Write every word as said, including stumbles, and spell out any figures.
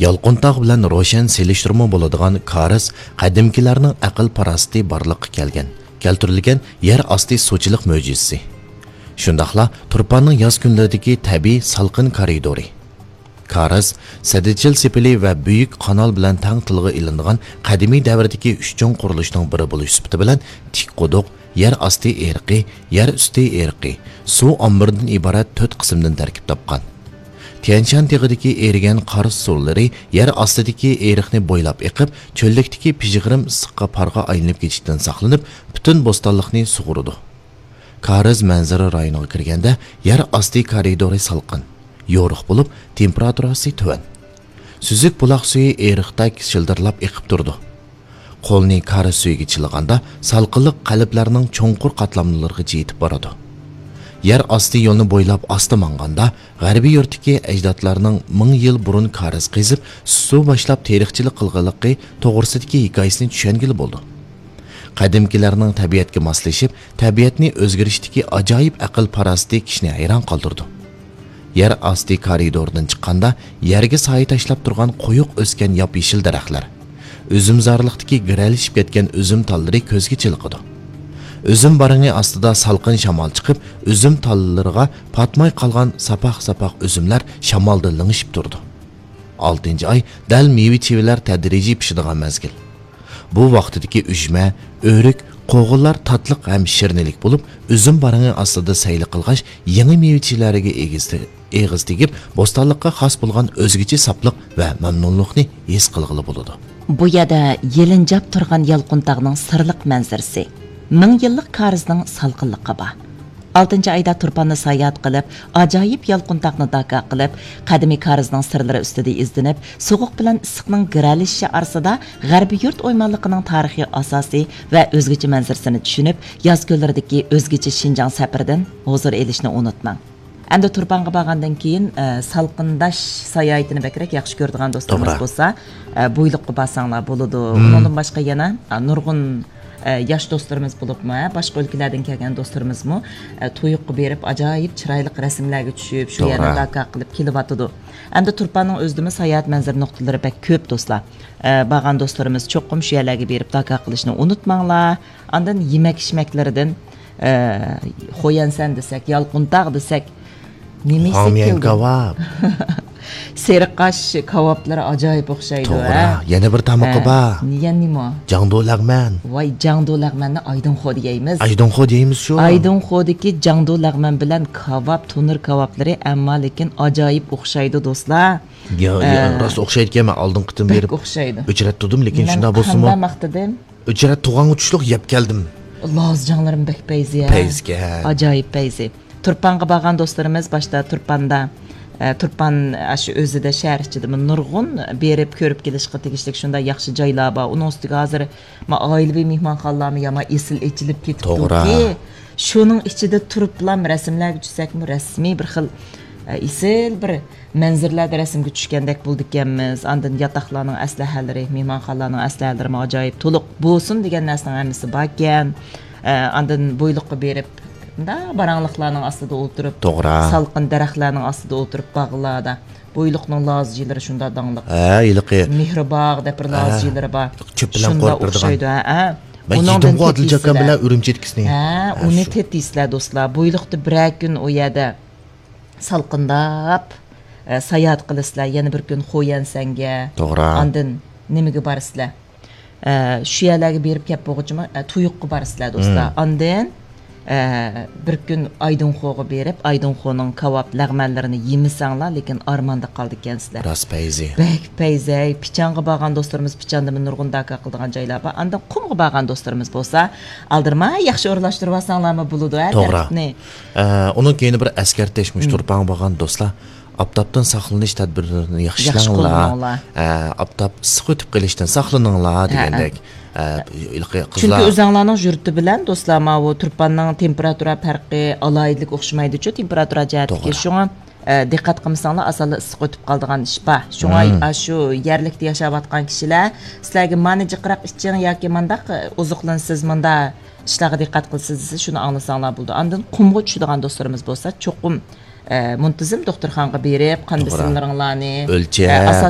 يالقۇنتاغ بىلەن روشەن سېلىشتۇرما بولىدىغان كارىز قەدىمكىلەرنىڭ ئەقىل-پاراسىتى بارلىققا كەلگەن، كەلتۈرۈلگەن يەر ئاستى سۇچىلىق مۆجىزىسى. شۇنداقلا تۇرپاننىڭ ياز كۈنلىرىدىكى تەبىئىي سالقىن كارىدورى. كارىز، سەددىچىل سېپىلى ۋە بۈيۈك قانال بىلەن تەڭ تىلغا ئېلىنىدىغان قەدىمىي دەۋردىكى ئۈچ چوڭ قۇرۇلۇشنىڭ بىرى بولۇش سۈپىتى بىلەن تىك قۇدۇق، يەر ئاستى ئېرىقى، يەر ئۈستى ئېرىقى، سۇ ئامبىرىدىن ئىبارەت تۆت قىسىمدىن تەركىب تاپقان. تيەنشان تېغىدىكى ئېرىگەن قار سۇلىرى يەر ئاستىدىكى ئېرىقنى بويلاپ ئېقىپ، چۆللۈكتىكى پىژغىرىم ئىسسىققا پارغا ئايلىنىپ كېتىشتىن ساقلىنىپ، پۈتۈن بوستانلىقنى سۇغۇرىدۇ. كارىز مەنزىرە رايونىغا كىرگەندە، يەر ئاستى كارىدورى سالقىن، يورۇق بولۇپ، تېمپېراتۇراسى تۆۋەن. سۈزۈك بۇلاق سۈيى ئېرىقتەك شىلدىرلاپ ئېقىپ تۇرىدۇ. قولنى كارىز سۈيىگە چىلىغاندا، سالقىنلىق قەلبلەرنىڭ چوڭقۇر قاتلاملىرىغىچە يېتىپ بارىدۇ. يەر ئاستى يولنى بويلاپ ئاستا ماڭغاندا، غەربىي يۇرتتىكى ئەجدادلارنىڭ مىڭ يىل بۇرۇن كارىز قېزىپ، سۇ باشلاپ تېرىقچىلىق قىلغانلىقى توغرىسىدىكى ھېكايىسىنى چۈشەنگىلى بولىدۇ. قەدىمكىلەرنىڭ تەبىئەتكە ماسلىشىپ، تەبىئەتنى ئۆزگىرىشتىكى ئاجايىپ ئەقىل-پاراسىتى كىشىنى ھەيران قالدۇرىدۇ. يەر ئاستى كارىدورىدىن چىققاندا، يەرگە سايە تاشلاپ تۇرغان قويۇق ئۆسكەن ياپيېشىل دەرەخلەر، ئۈزۈمزارلىقتىكى گىرەلىشىپ كەتكەن ئۈزۈم تاللىرى كۆزگە چېلىقىدۇ. ئۈزۈم بارىڭى ئاستىدا سالقىن شامال چىقىپ، ئۈزۈم تاللىرىغا پاتماي قالغان ساپاق-ساپاق ئۈزۈملەر شامالدا لىڭشىپ تۇرىدۇ. ئالتىنچى ئاي دەل مېۋە-چېۋىلەر تەدرىجىي پىشىدىغان مەزگىل. بۇ ۋاقتىدىكى ئۈجمە، ئۆرۈك، قوغۇنلار تاتلىق ھەم شىرنىلىك بولۇپ، ئۈزۈم بارىڭى ئاستىدا سەيلە قىلغاچ، يېڭى مېۋە-چېۋىلەرگە ئېگىز تە-، ئېغىز تېگىپ، بوستانلىققا خاس بولغان ئۆزگىچە ساپلىق ۋە مەمنۇنلۇقنى ھېس قىلغىلى بولىدۇ. بۇ يەردە يېلىنجاپ تۇرغان يالقۇنتاغنىڭ سىرلىق مەنزىرىسى، مىڭ يىللىق كارىزنىڭ سالقىنلىقى بار. ئالتىنچى ئايدا تۇرپاندا ساياھەت قىلىپ، ئاجايىپ يالقۇنتاغنى داكا قىلىپ، قەدىمىي كارىزنىڭ سىرلىرى ئۈستىدە ئىزدىنىپ، سوغۇق بىلەن ئىسسىقنىڭ گىرەلىشىشى ئارىسىدا غەربىي يۇرت ئويمانلىقىنىڭ تارىخىي ئاساسى ۋە ئۆزگىچە مەنزىرىسىنى چۈشىنىپ، ياز كۈنلىرىدىكى ئۆزگىچە شىنجاڭ سەپىرىدىن ھۇزۇر ئېلىشنى ئۇنتۇماڭ. ئەمدى تۇرپانغا بارغاندىن كېيىن، ئە، سالقىنداش ساياھىتىنى بەكرەك ياخشى كۆرىدىغان دوستلىرىمىز توغرا. بولسا، ئە، بۇيلۇققا بارساڭلار بولىدۇ. مم. ئۇنىڭدىن باشقا يەنە، ئە، نۇرغۇن، ئە، ياش دوستلىرىمىز بولۇپمۇ، ھە، باشقا ئۆلكىلەردىن كەلگەن دوستلىرىمىزمۇ، ئە، تۇيۇققا بېرىپ، ئاجايىپ چىرايلىق رەسىملەرگە چۈشۈپ، شۇ توغرا. يەرنى داكا قىلىپ كېلىۋاتىدۇ. ئەمدى تۇرپاننىڭ ئۆزىدىمۇ ساياھەت مەنزىرە نۇقتىلىرى بەك كۆپ، دوستلار. ئە، بارغان دوستلىرىمىز چوقۇم شۇ يەرلەرگە بېرىپ داكا قىلىشنى ئۇنتۇماڭلار. ئاندىن يېمەك-ئىچمەكلىرىدىن، ئە، خويەنسەن دېسەك، يالقۇنتاغ دېسەك، نېمە يېسەك كېلىدۇ؟ كاۋاپ. سېرىقاش كاۋاپلىرى ئاجايىپ ئوخشايدۇ، توغرا. ھە؟ يەنە بىر تامىقى ھە. بار. يەنە نېمە؟ جاڭدۇ لەغمەن. ۋاي، جاڭدۇ لەغمەننى ئايدىڭخودا يەيمىز. ئايدىڭخودا يەيمىز شۇ. ئايدىڭخودىكى جاڭدۇ لەغمەن بىلەن كاۋاپ، تونۇر كاۋاپلىرى، ئەمما لېكىن ئاجايىپ ئوخشايدۇ، دوستلار. يا، يا، ئە، راست ئوخشايدىكەن، مەن ئالدىنقى قېتىم بەك بېرىپ ئوخشايدۇ. ئۆچرەتتۈردۈم، لېكىن مەن شۇنداق بولسىمۇ قانداق ماختىدىم؟ ئۆچرەت تۇغانغا چۈشلۈك يەپ كەلدىم. لازجاڭلىرىم بەك پەيزى، ھە؟ پەيزىكەن. ئاجايىپ پەيزى. تۇرپانغا بارغان دوستلىرىمىز باشتا تۇرپاندا، ئە، تۇرپان ئاشۇ ئۆزىدە شەھەر ئىچىدىمۇ نۇرغۇن بېرىپ كۆرۈپ كېلىشقا تېگىشلىك شۇنداق ياخشى جايلار بار. ئۇنىڭ ئۈستىگە ھازىر ما ئائىلىۋى مېھمانخانىلارمۇ يامان ئېسىل ئېچىلىپ توغرا. كېتىپتۇكى. شۇنىڭ ئىچىدە تۇرۇپلام رەسىملەرگە چۈشسەكمۇ رەسمىي بىر خىل، ئە، ئېسىل بىر مەنزىرىلەردە رەسىمگە چۈشكەندەك بولىدىكەنمىز. ئاندىن ياتاقلارنىڭ ئەسلىھەلىرى، مېھمانخانىلارنىڭ ئەسلىھەلىرىمۇ ئاجايىپ تولۇق بولسۇن دېگەن نەرسىنىڭ ھەممىسى باركەن. ئە، ئاندىن بويلۇققا بېرىپ، مۇنداق باراڭلىقلارنىڭ ئاستىدا ئولتۇرۇپ، توغرا. سالقىن دەرەخلەرنىڭ ئاستىدا ئولتۇرۇپ باغلاردا. بويلۇقنىڭ لازجىلىرى شۇنداق داڭلىق. ھە، ھېلىقى. مېھرىباغ دەپ بىر ھە. لازجىلىرى بار. چۆپ بىلەن شۇنداق قورۇپ بېرىدىغان. ئوخشايدۇ، ھە، ھە. مەن ئۇنىڭدىن يېدىمغۇ ئادىلجان ئاكام بىلەن ئۈرۈمچىدىكىسىنى. ھە، ھە، ئۇنى شۇ. تېتىيسىلەر، دوستلار. بويلۇقتا بىرەر كۈن ئۇ يەردە سالقىنداپ، ئە، ساياھەت قىلىسىلەر. يەنە بىر كۈن خويەنسەنگە. توغرا. ئاندىن نېمىگە بارىسىلەر؟ ئە، شۇ يەرلەرگە بېرىپ كەپ بولغۇچىمۇ، ئە، تۇيۇققا بارىسىلەر، دوستلار. مم. ئاندىن، ئە، بىر كۈن ئايدىڭخوغا بېرىپ، ئايدىڭخونىڭ كاۋاپ، لەغمەنلىرىنى يېمىسەڭلار، لېكىن ئارماندا قالىدىكەنسىلەر. راست پەيزى. بەك پەيزەي. پىچانغا بارغان دوستلىرىمىز پىچاندىمۇ نۇرغۇن داكا قىلىدىغان جايلار بار. ئاندىن قۇمغا بارغان دوستلىرىمىز بولسا، ئالدىرىماي ياخشى ئورۇنلاشتۇرۇۋالساڭلارمۇ بولىدۇ، ھە، توغرا. تەرتىپنى. ئە، ئۇنىڭ كەينى بىر ئەسكەرتىش، مۇشۇ مم. تۇرپانغا بارغان دوستلار، ئاپتاپتىن ساقلىنىش تەدبىرلىرىنى ياخشى ياخشى ئىشلەڭلار. قوللىنىڭلار. ئە، ئاپتاپ ئىسسىق ئۆتۈپ قېلىشتىن ساقلىنىڭلار ھە، دېگەندەك. ھە. ئە، ھېلىقى چۈنكى قىزلار ئۆزەڭلارنىڭ يۇرتى بىلەن دوستلار، ماۋۇ تۇرپاننىڭ تېمپېراتۇرا پەرقى، ئالاھىدىلىكى ئوخشىمايدۇچۇ، تېمپېراتۇرا جەھەتتىكى. توغرا. شۇڭا، ئە، دىققەت قىلمىساڭلار، ئاسانلا ئىسسىق ئۆتۈپ قالىدىغان ئىش بار. شۇڭا مم. ئاشۇ يەرلىكتە ياشاۋاتقان كىشىلەر سىلەرگە مانا جىقراق ئىچىڭ ياكى مانداق، ئە، ئوزۇقلىنىسىز، مۇنداق ئىشلارغا دىققەت قىلىسىز دېسە، شۇنى ئاڭلىساڭلار بولىدۇ. ئاندىن قۇمغا چۈشىدىغان دوستلىرىمىز بولسا، چوقۇم ئە، مۇنتىزىم دوختۇرخانىغا بېرىپ، قان توغرا. بېسىملىرىڭلارنى، ئۆلچەپ. ئە، ئاساس